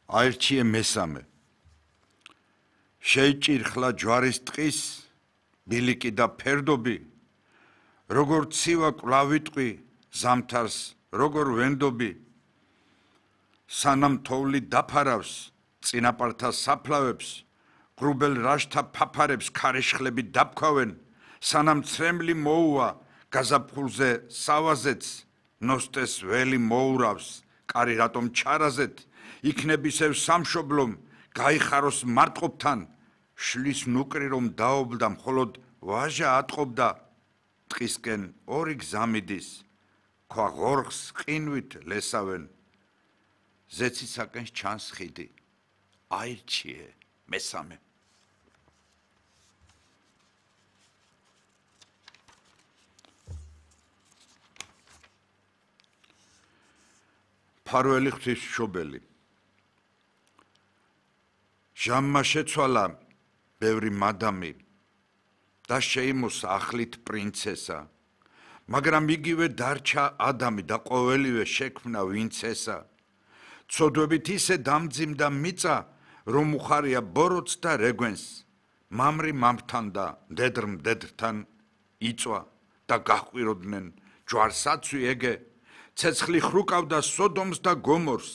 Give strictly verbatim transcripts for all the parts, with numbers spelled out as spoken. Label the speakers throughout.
Speaker 1: აირჩიე მესამე. შეიჭირხლა ჯვარის ტყის, ბილიკი და ფერდობი, როგორ ცივა კვლავიტყვი, ზამთარს როგორ ვენდობი, სანამ თოვლი დაფარავს, წინაპართა საფლავებს, გრუბელ რაშთა ფაფარებს ქარიშხლები დაფქვავენ, სანამ ცრემლი მოუვა, გაზაფხულზე სავაზეც, ნოსტეს ველი მოურავს, კარი რატომ ჩარაზეთ, იქნებისევ სამშობლომ, გაიხაროს მარტყოფთან, შლის ნუკრი რომ დაობდა, მხოლოდ ვაჟა ატყობდა, ტყისკენ ორი გზა მიდის, ქვა ღორღს ყინვით ლესავენ, ზეცისაკენ ჩანს ხიდი, აირჩიე მესამე. ფარველი ღვთისმშობელი. ჟამმა შეცვალა ბევრი მადამი და შეიმოსა ახლით პრინცესა, მაგრამ იგივე დარჩა ადამი და ყოველივე შექმნა ვინცესა. ცოდვებით ისე დამძიმდა მიწა, რომ უხარია ბოროტს და რეგვენს, მამრი მამრთან და მდედრ მდედრთან იწვა და გაჰყვიროდნენ ჯვარსაცვი ეგე, ცეცხლი ხრუკავდა სოდომს და გომორს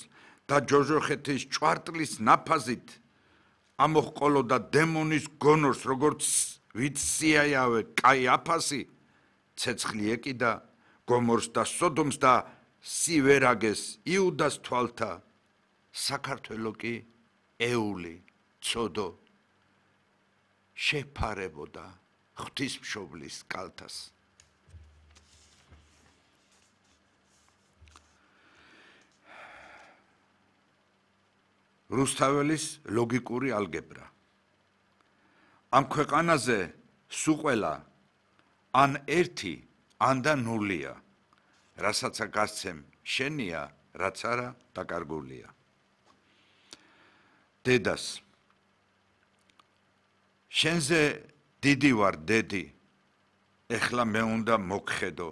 Speaker 1: და ჯოჯოხეთის ჭვარტლის ნაფაზით, ამოჰყოლოდა დემონის გონორს, როგორც ვიცსიაიავე კაი აფასი, ცეცხლი ეკიდა გომორს და სოდომს და სივერაგეს იუდას თვალთა, საქართველო კი ეული, ცოდო, შეფარებოდა ღვთისმშობლის კალთას. რუსთაველის ლოგიკური ალგებრა. ამ ქვეყანაზე სუყველა ან ერთი, ან და ნულია, რასაცა გასცემ შენია, რაც არა დაკარგულია. დედას. შენზე დიდი ვარ დედი, ეხლა მე უნდა მოგხედო.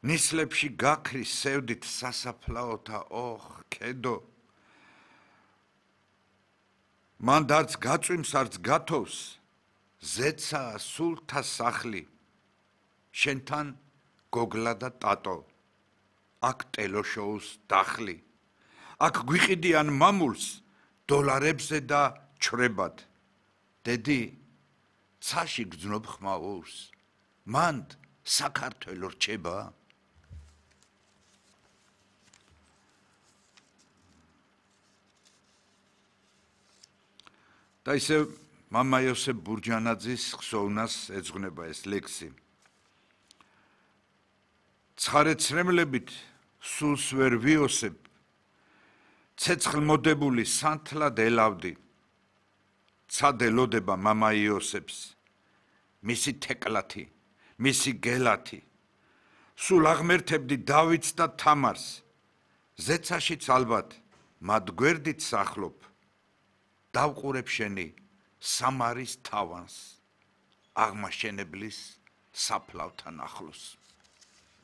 Speaker 1: ნისლებში გაქრი სევდით სასაფლაოთა ოხ ქედო. მან დარც გაწვიმს არც გათოვს, ზეცაა სულთა სახლი, შენთან გოგლა და ტატო, აქ ტელოშოუს დახლი, აქ გვიყიდიან მამულს დოლარებზე და ჩრებად, დედი, ცაში გძნობ ხმაურს, მანდ საქართველო რჩება? და ისე მამა იოსებ ბურჯანაძის ხსოვნას ეძღვნება ეს ლექსი. ცხარე ცრემლებით სულს ვერ ვიოსებ, ცეცხლმოდებული სანთლად ელავდი, ცად ელოდება მამა იოსებს, მისი თეკლათი, მისი გელათი, სულ აღმერთებდი დავითს და თამარს, ზეცაშიც ალბათ მათ გვერდით სახლობ, დავყურებ შენი სამარის თავანს, აღმაშენებლის საფლავთან ახლოს.